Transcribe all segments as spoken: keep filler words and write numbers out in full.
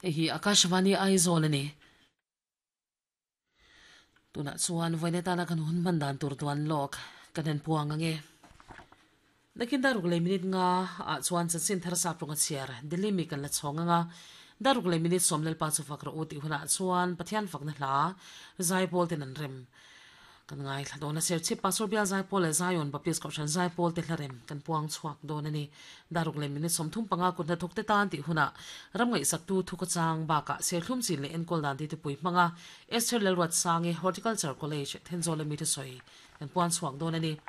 Hei hi Akashvani Aizawl a ni. Tunah chuan vawiin atana kan hun hman dan tur duan lawk kan han puang ange. Nakin daruk leh minute nga ah chuan chanchin thar sap rawnga chhiar Delhi mi kan la chhawng anga daruk leh minute sawm Lalpa chu fak rawh u tih hunah chuan Pathian fakna hla zaipawl ten an rem. Kan ngaithla dawn a, Serchhip Pastor Bial Zaipawl leh Zion Baptist Kohhran Zaipawl te hlarem kan puang chhuak dawn a ni. Daruk leh minute sawmthum panga kut hnathawk te tan tih hunah ram ngaihsaktu thukhawchang bakah serthlum chin leh enkawl dan titipui hmanga Esther Lalruatsangi Horticulture College Thenzawl a mi thusawi kan puan chhuak dawn a ni.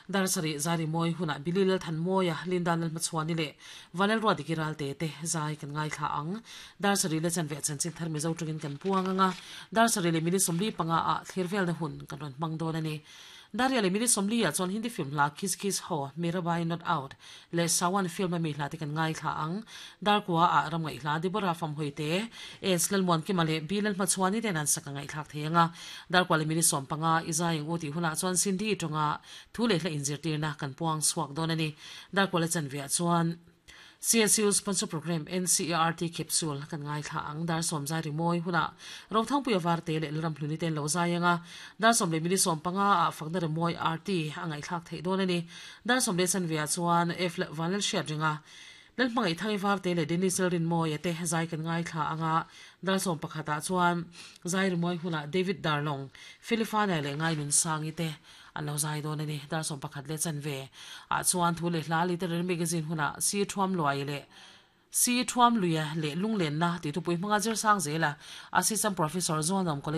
Dar sarih zai rimawi hunah Billy Lalthanmawia, Linda Lalhmachhuani leh Vanlalruatdiki Ralte te zai kan ngaithla ang. Dar sarih leh chanve chanchin thar Mizo tawngin kan puang ang a, dar sarih leh minute sawmli panga ah thlir velna hun kan rawn hmang dawn a ni. Daria leh minute sawmli ah chuan Hindi film hla Kiss Kiss Ho, Mirabai Not Out leh Sawan film a mi hla te kan ngaithla ang. Dar kua ah ram ngaihhla Deborah Famhawi te, S Lalmuankima leh B Lalhmachhuani ten an sak a ngaihthlak thei ang a. Dar kua leh minute sawm panga i zai ang u tih hunah chuan Cindy tawnga thu leh hla inzirtirna kan puang chhuak dawn a ni. Dar kua leh chanve ah chuan C S U sponsor program N C E R T capsule kan ngaithla ang. Dar sawm zai rimawi hunah Rothangpuia Varte leh Lalramhluni ten lo zai ang a. Dar sawm leh minute sawm panga ah fakna rimawi R T a ngaihthlak theih dawn a ni. Dar sawm leh chanve ah chuan F leh Vanlalhriat ringa Lalhmangaih Thangi Varte leh Dennis Lalrinmawia te zai kan ngaithla ang a. Dar sawm pakhat ah chuan zai rimawi hunah David Darlong, Felifana leh Ngainunsangi te an lo zai dawn a ni. Dar sawm pakhat leh chanve ah chuan thu leh hla literary magazine hunah Si Thuam Luai leh Si Thuam Luia leh Lunglenna tih thupui hmanga zir sang zela Assistant Professor Zuanawm College